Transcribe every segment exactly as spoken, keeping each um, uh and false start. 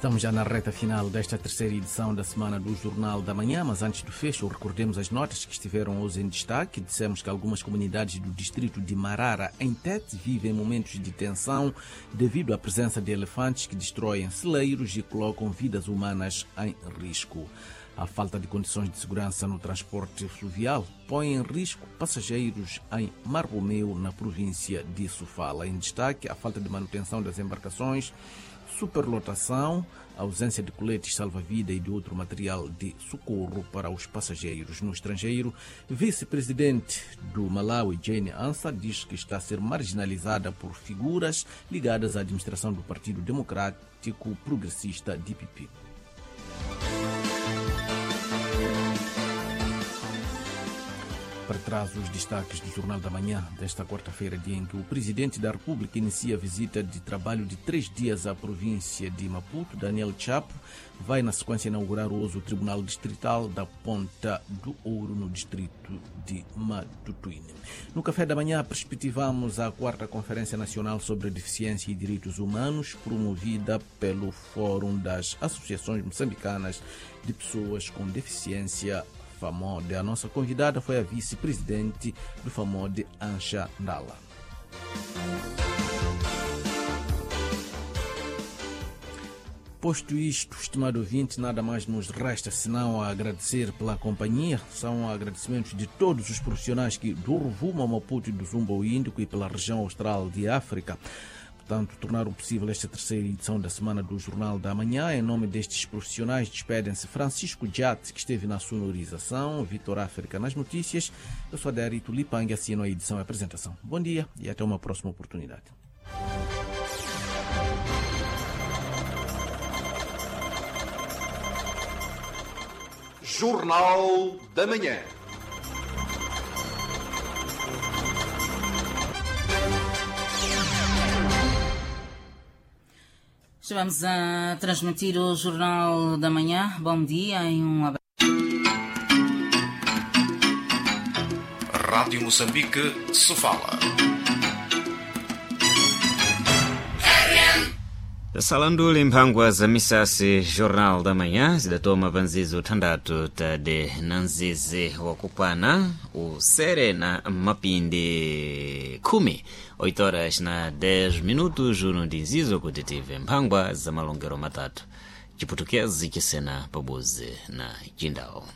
Estamos já na reta final desta terceira edição da semana do Jornal da Manhã, mas antes do fecho, recordemos as notas que estiveram hoje em destaque. Dissemos que algumas comunidades do distrito de Marara, em Tete, vivem momentos de tensão devido à presença de elefantes que destroem celeiros e colocam vidas humanas em risco. A falta de condições de segurança no transporte fluvial põe em risco passageiros em Marromeu, na província de Sofala. Em destaque, a falta de manutenção das embarcações, superlotação, ausência de coletes salva-vida e de outro material de socorro para os passageiros. No estrangeiro, vice-presidente do Malawi, Jane Ansah, diz que está a ser marginalizada por figuras ligadas à administração do Partido Democrático Progressista, D P P. Para trás, os destaques do Jornal da Manhã desta quarta-feira, dia em que o Presidente da República inicia a visita de trabalho de três dias à província de Maputo. Daniel Chapo vai, na sequência, inaugurar hoje o Tribunal Distrital da Ponta do Ouro, no distrito de Matutuine. No Café da Manhã, perspectivamos a quarta Conferência Nacional sobre Deficiência e Direitos Humanos, promovida pelo Fórum das Associações Moçambicanas de Pessoas com Deficiência, FAMODE. A nossa convidada foi a vice-presidente do FAMODE, Ancha Ndala. Posto isto, estimado ouvinte, nada mais nos resta senão a agradecer pela companhia. São agradecimentos de todos os profissionais que do Rovuma ao Maputo e do Zumba ao Índico e pela região austral de África, portanto, tornaram possível esta terceira edição da semana do Jornal da Manhã. Em nome destes profissionais, despedem-se Francisco Djat, que esteve na sonorização, Vitor África nas notícias. Eu sou Adérito Lipang, assino a edição e a apresentação. Bom dia e até uma próxima oportunidade. Jornal da Manhã. Estamos a transmitir o Jornal da Manhã. Bom dia e um abraço. Rádio Moçambique, Sofala. Salanduli mphangwa za misasi. Jornal da Manhã zidatoma panzizi uthandatu tade na nzizi wakukwana usere na mapindi khumi, oito horas na dez minutos, uno ndi nzizo kuti tive mphangwa za malongero matatu, Chiputukezi, Chisena pabuzi na Chindawo.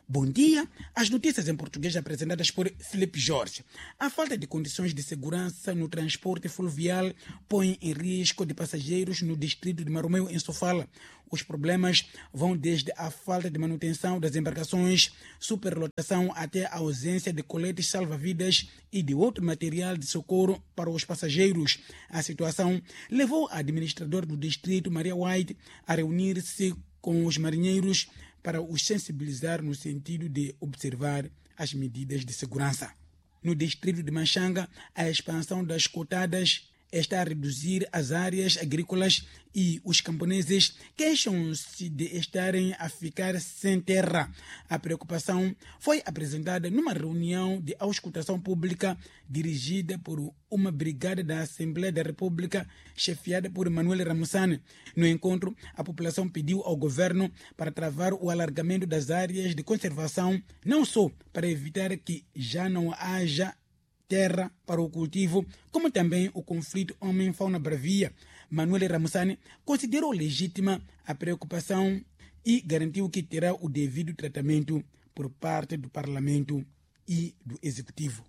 Bom dia. As notícias em português apresentadas por Felipe Jorge. A falta de condições de segurança no transporte fluvial põe em risco de passageiros no distrito de Marromeu, em Sofala. Os problemas vão desde a falta de manutenção das embarcações, superlotação até a ausência de coletes salva-vidas e de outro material de socorro para os passageiros. A situação levou a administradora do distrito, Maria White, a reunir-se com os marinheiros para os sensibilizar no sentido de observar as medidas de segurança. No distrito de Machanga, a expansão das cotadas está a reduzir as áreas agrícolas e os camponeses queixam-se de estarem a ficar sem terra. A preocupação foi apresentada numa reunião de auscultação pública dirigida por uma brigada da Assembleia da República, chefiada por Manuel Ramussane. No encontro, a população pediu ao governo para travar o alargamento das áreas de conservação, não só para evitar que já não haja terra para o cultivo, como também o conflito homem-fauna bravia. Manuel Ramussane considerou legítima a preocupação e garantiu que terá o devido tratamento por parte do Parlamento e do Executivo.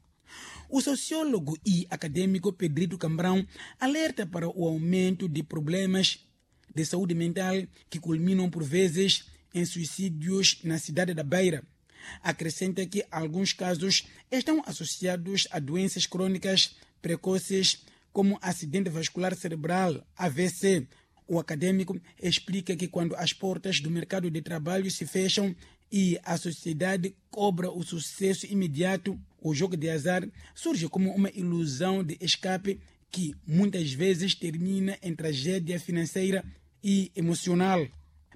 O sociólogo e acadêmico Pedrito Cambrão alerta para o aumento de problemas de saúde mental que culminam por vezes em suicídios na cidade da Beira. Acrescenta que alguns casos estão associados a doenças crônicas precoces, como acidente vascular cerebral, A V C. O acadêmico explica que quando as portas do mercado de trabalho se fecham e a sociedade cobra o sucesso imediato, o jogo de azar surge como uma ilusão de escape que muitas vezes termina em tragédia financeira e emocional.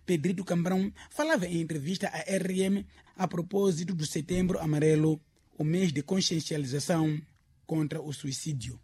Pedrito Cambrão falava em entrevista à R M a propósito do Setembro Amarelo, o mês de consciencialização contra o suicídio.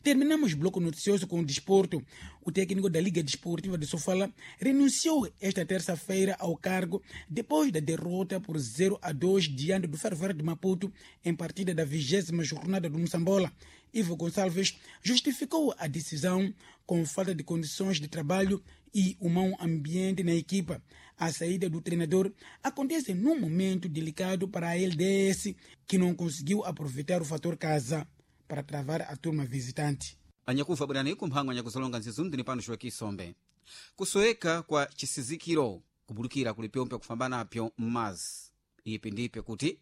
Terminamos o bloco noticioso com o desporto. O técnico da Liga Desportiva de Sofala renunciou esta terça-feira ao cargo depois da derrota por zero a dois diante do Ferroviário de Maputo em partida da vigésima jornada do Moçambola. Ivo Gonçalves justificou a decisão com falta de condições de trabalho e o mau ambiente na equipa. A saída do treinador acontece num momento delicado para a L D S, que não conseguiu aproveitar o fator casa para travar a turma visitante. Anyakufa bwerani kumphangwa anyakusolonga nzizundu ni pano xwekisombe. Kusoeka kwa chisizikiro kubulukira kuli pyompe kufambanapyo mmazi. Ipi ndipe kuti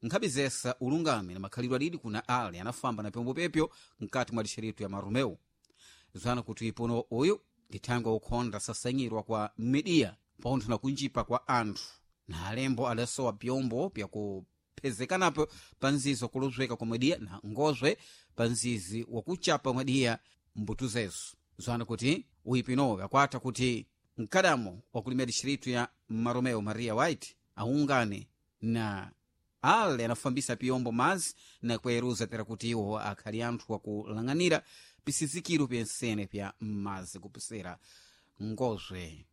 nkhabizesa ulungame na makhalidwe adidi kuna ale anafamba na pyombo pepyo mkati mwa dixeritu ya Marumeu. Zwana kuti ipono uyu ndi thangwe ukhonda sasanyirwa kwa midiya pontho na kunjipa kwa anthu na alembo adasowa pyombo pyaku phezekanapo pa nzizi wakuluzweka kwa mwediya na ngozwe pa nzizi wakuchapa mwediya mbutu zezo. Zwana kuti uyipinowe akwata kuti mkadamo wakulimira dixiritu ya Maromeo Maria White aungane na ale anafambisa piyombo mazi na kueruza tera kuti iwo akhali anthu wakulang'anira pisizikiro pyensene pya mazi kupisira ngozwe.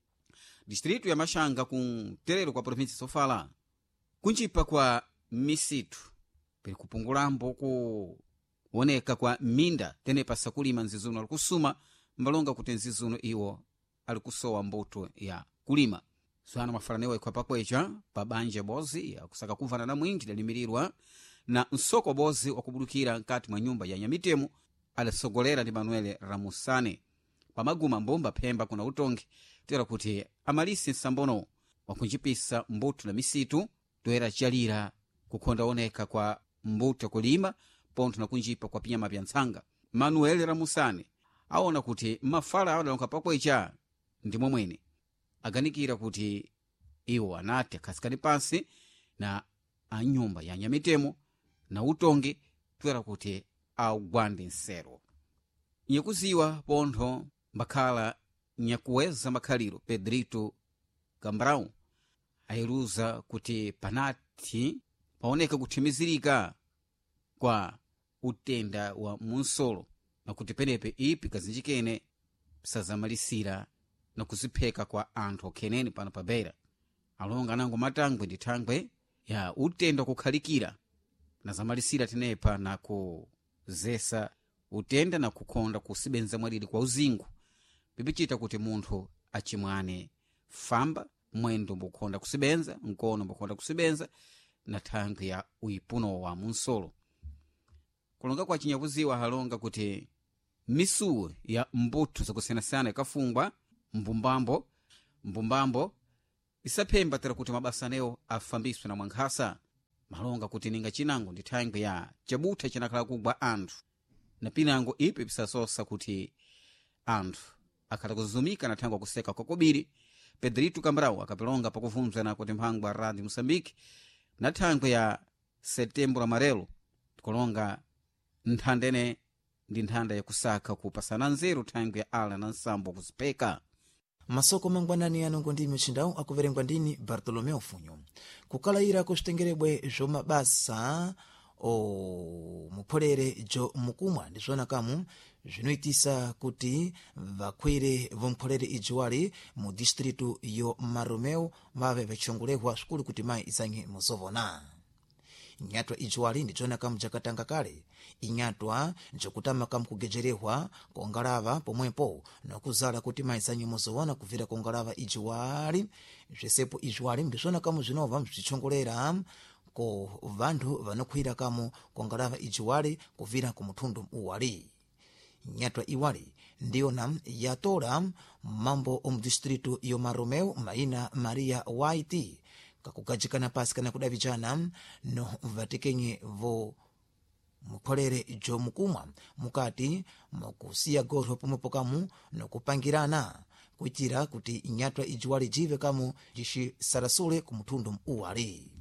Distritu ya Machanga ku terero kwa província Sofala kunjipa kwa misitu pili kupungulambo kuoneka kwa minda tene pasakulima nzizuno alikusuma mbalonga kuti nzizuno iwo alikusowa mbuto ya kulima. Zwana mafalanewo ikhwa pakwecha pa banja bozi yakusaka kuvana na mwinji dalimirirwa na nsoko bozi wakubulukira nkati mwa nyumba ya nyamitemo adasogolera ndi Manuel Ramusane pamaguma mbumba phemba kuna utongi tera kuti amalisi nsambono wakunjipisa mbuto na misitu toera chalira kukhonda oneka kwa mbuto yakulima pontho na kunjipa kwa pinyama pya ntsanga. Manuel Ramusane aona kuti mafala awo adalonka pakwecha ndi momwene aganikira kuti iwo anati akhasikani pansi na anyumba ya nyamitemo na utongi toera kuti augwande nsero. Nyakuziwa pontho mbakhala nyakuweza makhaliro Pedrito Cambrão ayiluza kuti panati paoneka kuthimizirika kwa utenda wa munsolo na kuti penepe ipi kazinjikene sazamalisira na kuzipheka kwa anthu okhenene pano pa Beira. Alonga anango matangwe ndi thangwe ya utenda kukhalikira na zamalisira tenepa na kuzesa utenda na kukhonda kusibenza mwaliri kwa uzingu pipichita kuti munthu achimwane famba mwendo mbukhonda kusibenza nkono mbukhonda kusibenza na thangwe ya uipuno wa munsolo. Kulonga kwa chinyakuziwa halonga kuti misuwu ya mbuthu zakusiyanasiyana ikafungwa mbumbambo mbumbambo isaphemba tera kuti mabasa anewo afambiswe na mwankhasa. Malonga kuti ninga chinango ndi thangwe ya chabutha chinakhala kugwa anthu na pinango ipi pisasosa kuti anthu akhala kuzumika na thangwe kuseka kwakobiri. Pedrito Cambrão akapilonga pakuvunzana kuti mphangwa Radio Moçambique na thangwe ya Setembro Amarelo tikulonga nthandene ndi nthanda yakusaka kupasana nzeru thangwe ya ala na nsambo kuzipheka. Masoko mangwanani anongo ndimi uchindawu akuverengwa ndini Bartolomeu Funyo. Kukalayira kuxitengerebwe zomabasa o mupholere jo mukumwa ndizvona kamu zvinoitisa kuti vakwire vomupholere ijiwali mu distritu yo Maromeu vave vachongolehwa svikulu kuti mayi isange muzovona. Inyatwa ijiwali ndizvona kamu jakatanga kale inyatwa njokutama kamu kugejerehwa kongalava pomwepo nokuzala kuti mayi isange muzovona kubvira kongalava ijiwali. Zvesepo ijiwali ndizvona kamu zvinobva zvichongolera ko vanthu vanokhwira kamu kongalava ijiwali kubvira ku muthundu uwali. Nyatwa iwali ndiyona yatola mambo omu distritu yo Maromeu maina Maria White kakugajikana pasi kana kudavijana no vatekenye vo mukholere jomukumwa mukati mokusiya gorho pomwepo kamu nokupangirana kuitira kuti nyatwa ijiwali jive kamu jixisarasule ku muthundu uwali.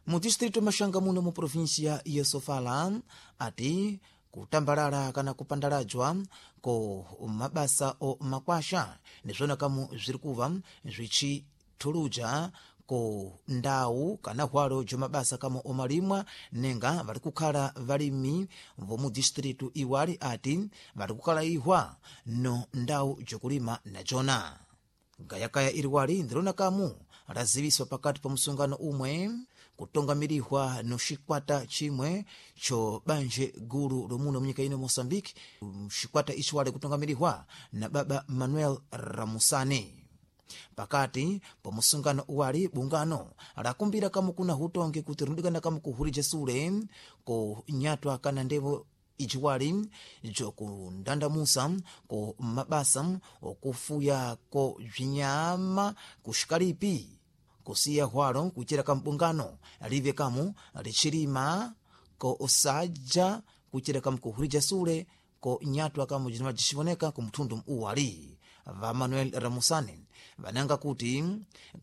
Mu distrito Machanga muno mu província ya Sofala ati Kutambalala kana kupandalajwa ko mabasa o makwasha ndizvona kamu zviri kuva zvichithuluja ko ndau kana hwalo jomabasa kamo omalimwa, nenga vari kukhala valimi vomu distritu iwali ati vari kukhala ihwa no ndau jokulima najona. Gayakaya iliwali ndilona kamu laziviswa pakati pa msungano umwe kutongamirihwa no xikwata chimwe cho banje gulu lomuno munyika ino Moçambique. Xikwata ichi wali kutongamirihwa na baba Manuel Ramusani. Pakati pa musungano uwali, bungano lakumbira kamu kuna hutongi kuti rinodikana kamu kuhulija sule ko nyatwa kana ndevo ijiwali jokundandamusa ko mabasa okufuya ko bzinyama kuxikalipi, kusiya hwalo kuchera kambungano live kamu lichilima ko osaja kuchera kamu kuhulija sule ko nyatwa kamu jinima jixivoneka ku mthundu uwali. Va Manuel Ramusani vananga kuti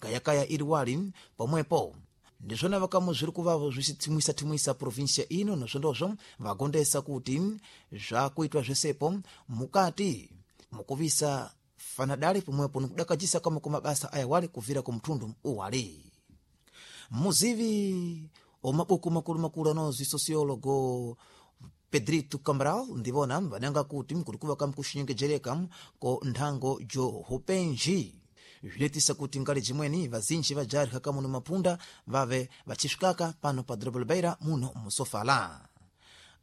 gayakaya iliwali pomwepo ndizvona vakamu zviri kuvavo zvichithimwisa-thimwisa provinsia ino, nozvondozvo vagondesa kuti zvakuitwa zvesepo mukati mukuvisa fanadali pomwepo nikudakajisa kamwe kwa mabasa aya wali kuvira ku mthundu uwali. Muzivi omabuku makulu-makulu anozwi sociologo Pedrito Cabral ndivona vananga kuti kuri kuva kamukuxinyengejereka ko nthango jo hupenji zvinoitisa kuti ngali jimweni vazinji vajarika kamuno mapunda vave vachisvikaka pano pa dorobo Beira muno musofala.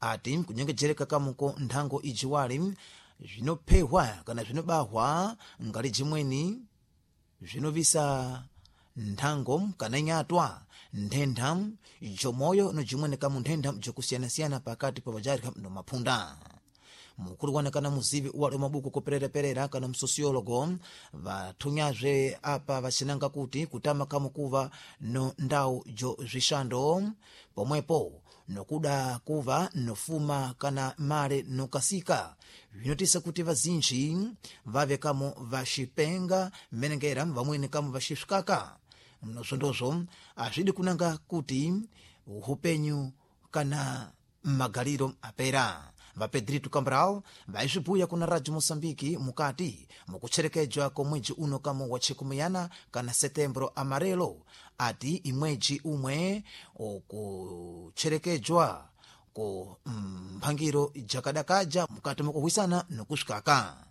Ati kunyengejereka kamuko nthango ijiwali zvinophehwa kana zvinobahwa ngali jimweni zvinovisa nthango kana nyatwa nthentha jomoyo no jimweni kamu nthentha jokusiyanasiyana pakati pa vajarika no mapunda. Mukulu wana kana muzivi uwali mabuku kuperereperera kana msosiologo vathunyazve apa vacinanga kuti kutama kamukuva no ndau jo zvixando pomwepo nokuda kuva nofuma kana male nokasika zvinotisa kuti vazinji vave kamo vaxipenga mmenengera vamweni kamo vaxisvikaka nozvondozvo azvidi kunanga kuti upenyu kana magaliro apera. VaPedrito Cabral vaizvibhuya kuna Radio Moçambique mukati mukucherekedzwa ko mwedzi uno kamo wa chikumuyana kana Setembro Amarelo, ati imwedzi umwe okucherekedzwa ko mphangiro jakadakaja mukati mukuhwisana nokusvikaka.